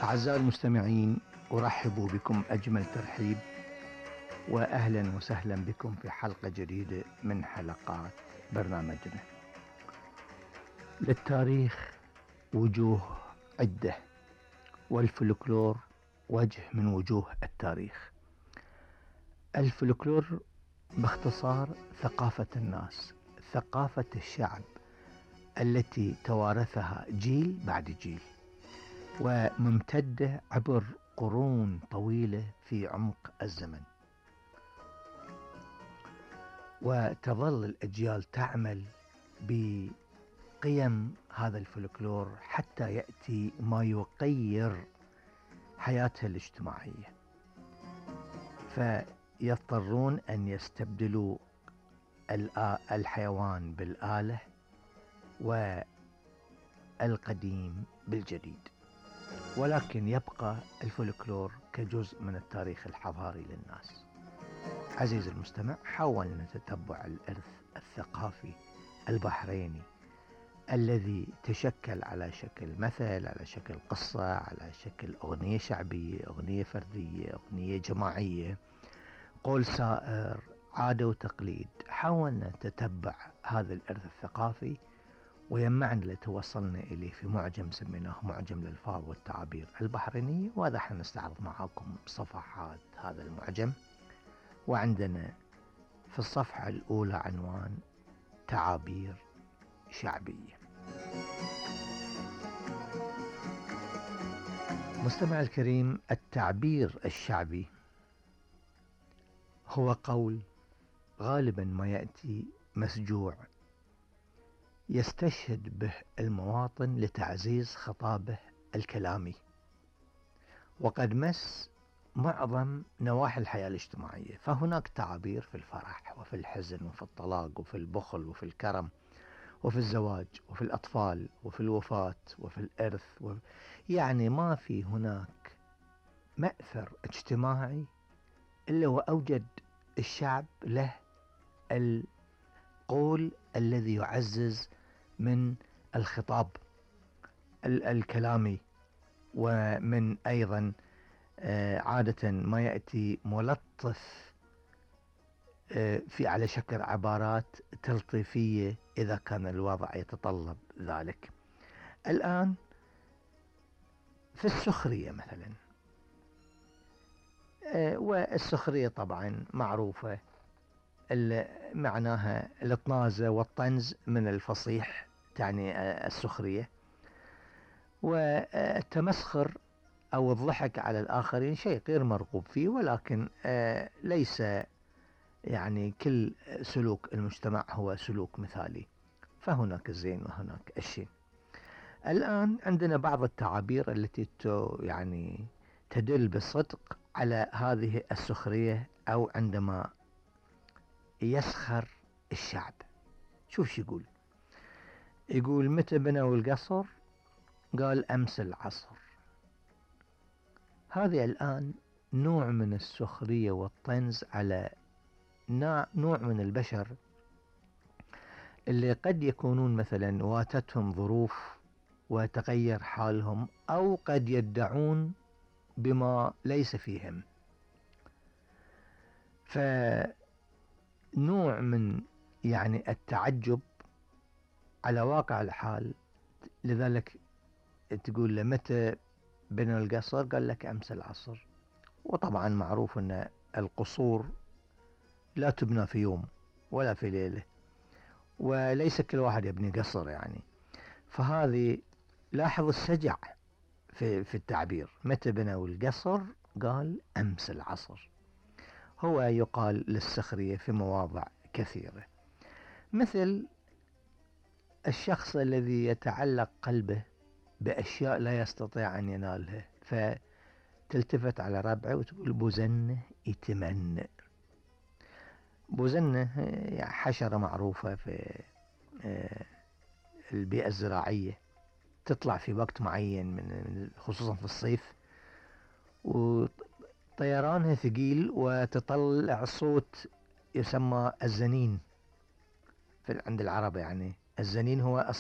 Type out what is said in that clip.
أعزائي المستمعين، أرحب بكم أجمل ترحيب وأهلا وسهلا بكم في حلقة جديدة من حلقات برنامجنا. للتاريخ وجوه عدة، والفلكلور وجه من وجوه التاريخ. الفلكلور باختصار ثقافة الناس، ثقافة الشعب التي توارثها جيل بعد جيل، وممتدة عبر قرون طويلة في عمق الزمن، وتظل الأجيال تعمل بقيم هذا الفلكلور حتى يأتي ما يغير حياتها الاجتماعية، فيضطرون أن يستبدلوا الحيوان بالآلة والقديم بالجديد، ولكن يبقى الفلكلور كجزء من التاريخ الحضاري للناس. عزيزي المستمع، حاول نتتبع الإرث الثقافي البحريني الذي تشكل على شكل مثل، على شكل قصة، على شكل أغنية شعبية، أغنية فردية، أغنية جماعية، قول سائر، عادة وتقليد. حاول نتتبع هذا الإرث الثقافي ويجمعنا لتوصلنا إليه في معجم سميناه معجم الألفاظ والتعابير البحرينية، وهذا حنستعرض معاكم صفحات هذا المعجم. وعندنا في الصفحة الأولى عنوان تعابير شعبية. مستمع الكريم، التعبير الشعبي هو قول غالبا ما يأتي مسجوع يستشهد به المواطن لتعزيز خطابه الكلامي، وقد مس معظم نواحي الحياة الاجتماعية. فهناك تعابير في الفرح وفي الحزن وفي الطلاق وفي البخل وفي الكرم وفي الزواج وفي الأطفال وفي الوفاة وفي الإرث يعني ما في هناك مأثر اجتماعي إلا وأوجد الشعب له القول الذي يعزز من الخطاب الكلامي، ومن أيضا عادة ما يأتي ملطف في على شكل عبارات تلطيفية إذا كان الوضع يتطلب ذلك. الآن في السخرية مثلا، والسخرية طبعا معروفة معناها الطنازة والطنز من الفصيح، تعني السخرية، والتمسخر أو الضحك على الآخرين شيء غير مرغوب فيه، ولكن ليس يعني كل سلوك المجتمع هو سلوك مثالي، فهناك الزين وهناك الشين. الآن عندنا بعض التعابير التي يعني تدل بصدق على هذه السخرية، أو عندما يسخر الشعب. شوف شو يقول متى بنوا القصر؟ قال أمس العصر. هذه الآن نوع من السخرية والطنز على نوع من البشر اللي قد يكونون مثلا واتتهم ظروف وتغير حالهم، أو قد يدعون بما ليس فيهم، فنوع من يعني التعجب على واقع الحال. لذلك تقول له متى بنوا القصر؟ قال لك أمس العصر. وطبعا معروف أن القصور لا تبنى في يوم ولا في ليلة، وليس كل واحد يبني قصر يعني. فهذه لاحظ السجع في التعبير، متى بنوا القصر؟ قال أمس العصر. هو يقال للسخرية في مواضع كثيرة، مثل الشخص الذي يتعلق قلبه بأشياء لا يستطيع أن ينالها، فتلتفت على ربعه وتقول بوزنه يتمنى. بوزنه حشرة معروفة في البيئة الزراعية، تطلع في وقت معين خصوصا في الصيف، وطيرانها ثقيل وتطلع صوت يسمى الزنين عند العرب. يعني الزنين هو